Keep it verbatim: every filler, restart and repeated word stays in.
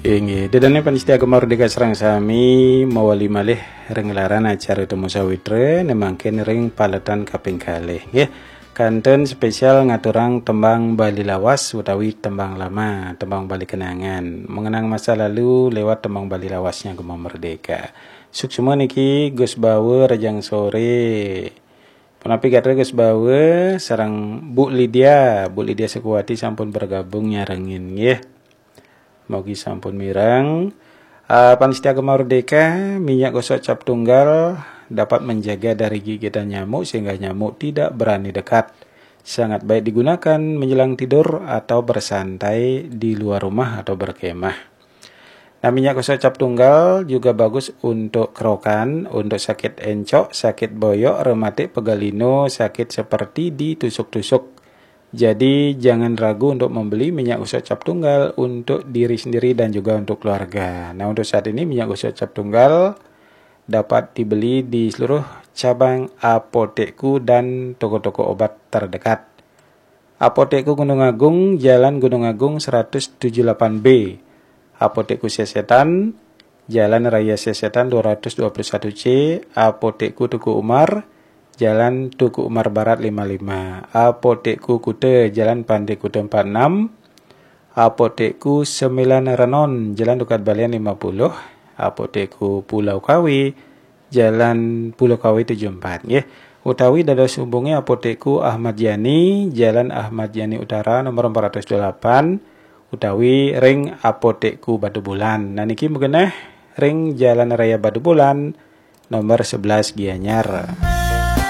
Inggih, ida dané pamiarsa Gema Merdeka sareng sami mawali malih ring gelaran acara Temu Sawitra, né mangkin ring paletan kaping kalih, nggih. Kantun spesial ngaturang tembang Bali lawas utawi tembang lama, tembang Bali kenangan, mengenang masa lalu lewat tembang Bali lawasnya Gema Merdeka. Suksma niki Gus Bawa, rahajeng soré. Punapi gatra Gus Bawa sareng Bu Lydia, Bu Lydia Sukuwati sampun bergabung nyarengin, nggih. Mogi sampun mireng. Ah, pamiarsa Gema Merdeka, minyak gosok cap tunggal dapat menjaga dari gigitan nyamuk sehingga nyamuk tidak berani dekat. Sangat baik digunakan menjelang tidur atau bersantai di luar rumah atau berkemah. Nah, minyak gosok cap tunggal juga bagus untuk kerokan, untuk sakit encok, sakit boyok, rematik, pegal linu, sakit seperti ditusuk-tusuk. Jadi, jangan ragu untuk membeli minyak gosok cap tunggal untuk diri sendiri dan juga untuk keluarga. Nah, untuk saat ini minyak gosok cap tunggal dapat dibeli di seluruh cabang Apotekku dan toko-toko obat terdekat. Apotekku Gunung Agung, Jalan Gunung Agung seratus tujuh delapan B. Apotekku Sesetan, Jalan Raya Sesetan dua ratus dua puluh satu C. Apotekku Teuku Umar, Jalan Teuku Umar Barat lima lima. Apotekku Kuta, Jalan Pantai Kuta empat enam. Apotekku Sembilan Renon, Jalan Tukad Balian lima puluh. Apotekku Pulau Kawi, Jalan Pulau Kawi tujuh empat, nggih. Utawi dados hubungi Apotekku Ahmad Yani, Jalan Ahmad Yani Utara nomor empat ratus delapan, utawi ring Apotekku Batubulan. Nah, niki magenah ring Jalan Raya Batubulan nomor sebelas Gianyar.